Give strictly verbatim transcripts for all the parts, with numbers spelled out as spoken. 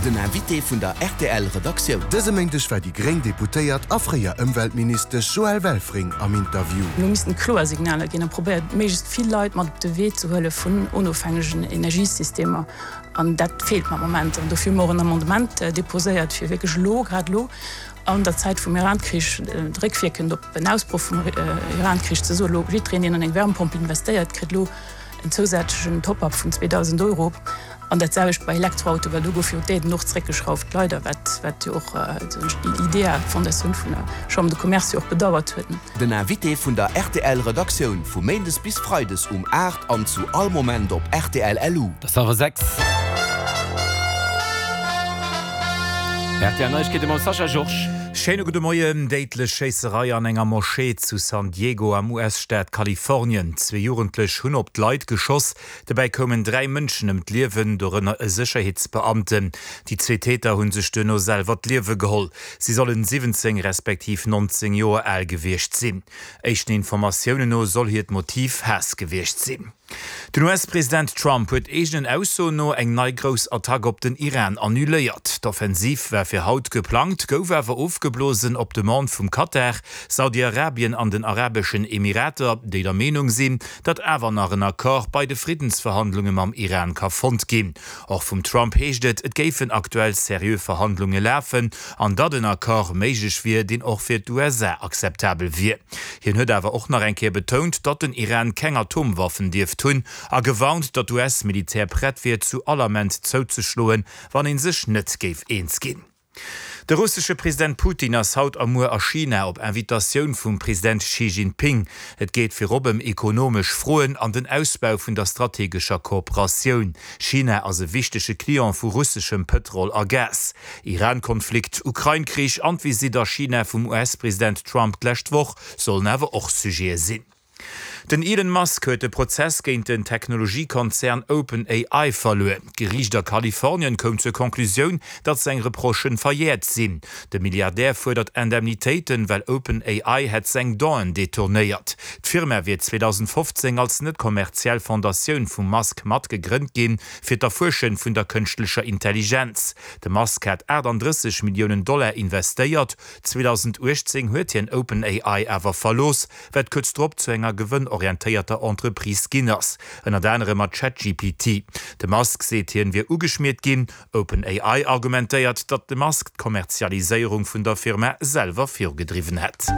Den Invité vun der rtl Redaktioun. Dëse Méindeg war déi gréng Deputéiert a fréier Ëmweltministesch Joëlle Welfring am Interview. Elo missten kloer Signaler ginn a probéiert méiglechst vill Leit mat op de Wee ze huele vun onofhängegen Energiesystemer. An dat feelt mer am Moment. An dofir hu mer och en Amendement deposéiert, fir wierklech elo, grad elo an der Zäit vum Iran-Krich, réckwierkend op en Ausbroch vum Iran-Krich ze soen, elo jiddwereen, deen an eng Wärmepompel investéiert, kritt elo en zousätzlechen Top-up vun zweedausend Euro. An dat selwecht bei Elektroautoen, well do gouf jo d'Aiden och zeréckgeschrauft, leider, wat wat jo och déi IDEA, d'Fondatioun vun der Chambre de Commerce, jo och bedauert huet. Den Invité vun der rtl Redaktioun vu Méindes bis Freides um aacht an zu all Moment op rtl LU. Et ass hallwer sechs. Rtl Neiegkeete mam Sascha Georges. Schéine gudde Moien. Déidlech Schéisserei an enger Moschee zu San Diego am U S-Staat Kalifornien. Zwee Jugendlech hunn op d'Leit geschoss. Dobäi koumen dräi Mënschen ëm d'Liewen, dorënner e Sécherheetsbeamten. Déi zwee Täter hu sech duerno selwer d'Liewe geholl. Si sollen siwwenzéng respektiv nonzéng Joer al gewiescht sinn. Éischten Informatiounen no soll hiert Motiv Haass gewiescht sinn. Den U S-President Trump huet eegenen Aussoen no eng nei grouss Attack op den Iran annuléiert. D'Offensiv war fir haut geplangt, gouf awer ofgeblosen op Demande vum Katar, Saudi-Arabien an den Arabeschen Emirater, déi der Meenung sinn, datt awer nach en Accord bei de Friddensverhandlunge mam Iran ka fonnt ginn. Och vum Trump heescht et, et géifen aktuell seriö Verhandlunge lafen an datt en Accord méiglech wier, deen och fir d'U S A akzeptabel wier. Hien huet awer och nach eng Kéier betount, datt den Iran keng Atomwaffen dierft hunn a gewarnt, datt d'U S-Militär prett wier, zu all Ament zouzeschloen, wann ee sech net géif eens ginn. De russesche President Putin ass haut a muer a China op Invitatioun vum President Xi Jinping. Et geet virop ëm ekonomesch Froen an den Ausbau vun der strategescher Kooperatioun. China ass e wichtege Client vu russeschem Pëtrol a Gas. Iran-Konflikt, Ukrain-Krich an d'Visitt a China vum U S-President Trump d'lescht Woch sollen awer och Sujete sinn. Den Elon Musk huet de Prozess géint den Technologiekonzern OpenAI verluer. D'Geriicht a Kalifornien koum zur Conclusioun, datt seng Reprochë verjäert sinn. De Milliardär fuerdert Indemnitéiten, well OpenAI hätt seng Donnéeën detournéiert. D'Firma wier zweedausendfofzéng als net kommerziell Fondatioun vum Musk mat gegrënnt ginn, fir d'Erfuersche vun der kënschtlecher Intelligenz. De Musk hat aachtanddrësseg Milliounen Dollar investéiert. zweedausenduechtzéng huet hien OpenAI awer verlooss, wat kuerz drop zu enger gewënnorientéierter Entreprise ginn ass, ënnert anerem mat ChatGPT. De Musk seet, hien wier ugeschmiert ginn. OpenAI argumentéiert, datt de Musk d'Kommerzialiséierung vun der Firma selwer virugedriwwen hätt.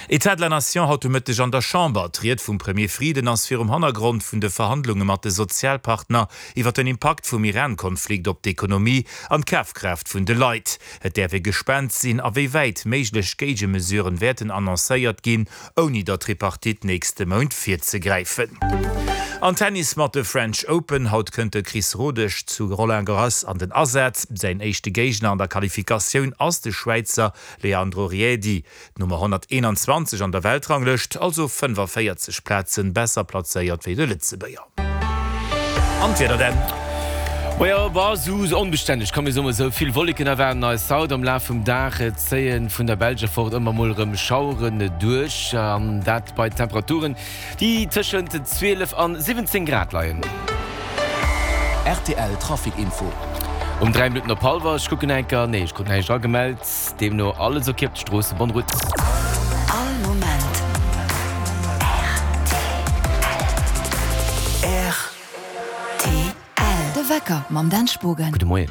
État de la Nation haut de Mëtteg an der Chamber. D'Ried vum Premier Frieden ass virum Hannergrond vun de Verhandlunge mat de Sozialpartner iwwer den Impakt vum Iran-Konflikt op d'Ekonomie an d'Kafkraaft vun de Leit. Et däerf ee gespaant sinn, a wéi wäit méiglech Géigemesuren wäerten annoncéiert ginn, ouni der Tripartite nächste Mount virzegräifen. An Tennis mat de French Open, Haut kënnt de Chris Rodesch zu Roland Garros an den Asaz. Säin éischte Géigner an der Qualifikatioun ass de Schwäizer Leandro Riedi, d'Nummer honnerteenanzwanzeg an der Weltranglëscht, also fënnefavéierzeg Plazen besser plazéiert wéi de Lëtzebuerger. An d'Wieder dann. Majo, bah, sou onbestänneg kann mir soen, sou vill Wolleken erwaarden eis haut. Am Laf vum Dag zéien vun der Belsch erfort ëmmer mol erëm Schaueren duerch, an dat bei Temperaturen, déi tëschent zwielef an siwwenzéng Grad leien. R T L Trafic Info. Um dräi Minutten op hallwer, ech kucken enker, nee, ech krut näischt agemellt, deemno alles ok op de Stroossen. Bonne route. All Moment R T L. De Wecker mam Dan Spogen. Gudde Moien.